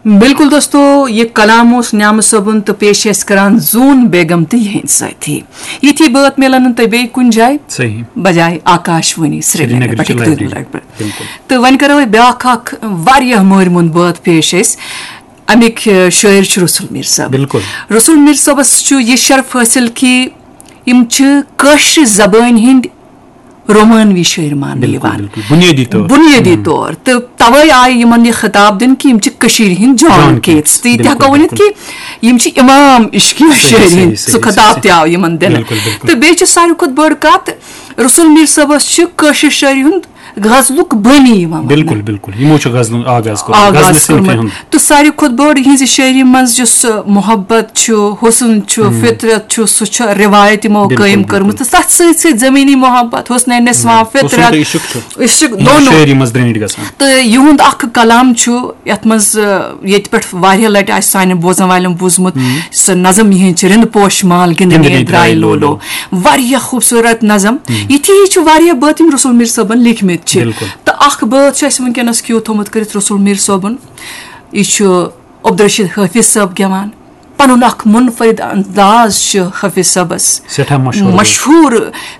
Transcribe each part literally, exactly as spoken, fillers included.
بِلکُل دوستو، یہِ کلام اوس نعمت صٲبُن تہٕ پیش چھِ أسۍ کران زوٗن بیگم تہٕ یِہِنٛدۍ سٲتھی۔ یِتھی بٲتھ میلن نہٕ تۄہہِ بیٚیہِ کُنہِ جایہِ۔ صحیح۔ بجایہِ آکاش وانی سرینگر سرینگرٕچ پٮ۪ٹھ، library۔ سرینگر پٮ۪ٹھ۔ بِلکُل۔ تہٕ وۄنۍ کرو أسۍ بیٛاکھ اکھ واریاہ مٲرۍ مُنٛد بٲتھ پیش أسۍ۔ اَمِکۍ، آ، شٲعر چھِ رسول میٖر صٲب۔ بِلکُل۔ رسول میٖر صٲبس چھُ یہِ شرف حٲصِل کہِ یِم چھِ کٲشرِ زبٲنۍ ہٕنٛدۍ رومانوی شٲعر ماننہٕ بِلکُل، یِوان۔ بِلکُل۔ بُنیٲدی طور۔ بُنیٲدی طور۔ تہٕ توے آیہِ یِمن یہِ خطاب دِنہٕ کہِ یِم چھِ کٔشیٖرِ ہٕنٛدۍ جان جان کیتس۔ کیتس، تہٕ یہِ تہِ ہٮ۪کو بِلکُل، ؤنِتھ بِلکُل۔ کہِ یِم چھِ امام عشقی صحیح، شٲعری صحیح، ہٕنٛدۍ۔ صحیح، سُہ خطاب صحیح۔ تہِ آو یِمن دِنہٕ۔ بِلکُل، بِلکُل۔ تہٕ بیٚیہِ چھِ ساروی کھۄتہٕ بٔڑ کتھ، رسول میٖر صٲبس چھِ کٲشِر شٲعری ہُنٛد غزلُک بٲنی یِوان وننہٕ۔ بِلکُل، بِلکُل۔ یِمو چھُ غزلُن آغاز کوٚرمُت، آغاز غزلہِ صنفہِ کوٚرمُت۔ ہُنٛد۔ تہٕ ساروی کھۄتہٕ بٔڑ یِہنٛزِ شٲعری منٛز یُس، آ، محبت چھُ، حُسن چھُ، فطرت چھُ، سُہ چھُ رِوایت یِمو بِلکُل، قٲیِم بِلکُل۔ کٔرمٕژ۔ تہٕ تَتھ سۭتۍ سۭتۍ زٔمیٖنی محبت، حُسنِ نسواں، حُسن فطرت، تہٕ عشق چھُ۔ عشق یِم دونوں۔ شٲعری منٛز درینٹھ گژھان۔ تہٕ یِہُنٛد اکھ کلام چھُ یَتھ منٛز، آ، ییٚتہِ پٮ۪ٹھ واریاہ لٹہِ آسہِ سانٮ۪ن بوزن والٮ۪ن بوٗزمُت، سُہ نظم یِہِنٛز چھِ، رِنٛدٕ پوش مال گِنٛدنے گِنٛدنے درٛاے درٛاے لولو۔ لولو۔ واریاہ خوٗبصوٗرت نظم۔ یِتھی ہِوۍ چھِ واریاہ بٲتھ یِم رسول میٖر صٲبن لیٖکھمٕتۍ چھِ۔ بِلکُل۔ تہٕ اکھ بٲتھ چھُ اَسہِ وٕنکیٚنس کیو تھوٚمُت کٔرِتھ رسول میٖر صٲبُن۔ یہِ چھُ عبدالرشید حٲفظ صٲب گٮ۪وان۔ پنُن اکھ منفرد انداز چھُ حٲفظ صٲبس۔ سٮ۪ٹھاہ مشہوٗر۔ مشہوٗر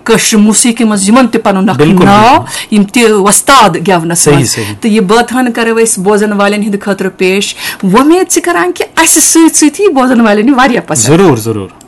کٲشرِ موسیقی منٛز یِمن تہِ پنُن اکھ بِلکُل، ناو، بِلکُل۔ یِم تہِ وۄستاد گٮ۪ونس صحیح، منٛز۔ صحیح۔ تہٕ یہِ بٲتھ ہن کرو أسۍ بوزن والٮ۪ن ہٕنٛدِ خٲطرٕ پیش۔ وۄمید چھِ کران کہِ اسہِ سۭتۍ سۭتۍ یی بوزن والٮ۪ن یہِ واریاہ پسند۔ ضروٗر، ضروٗر۔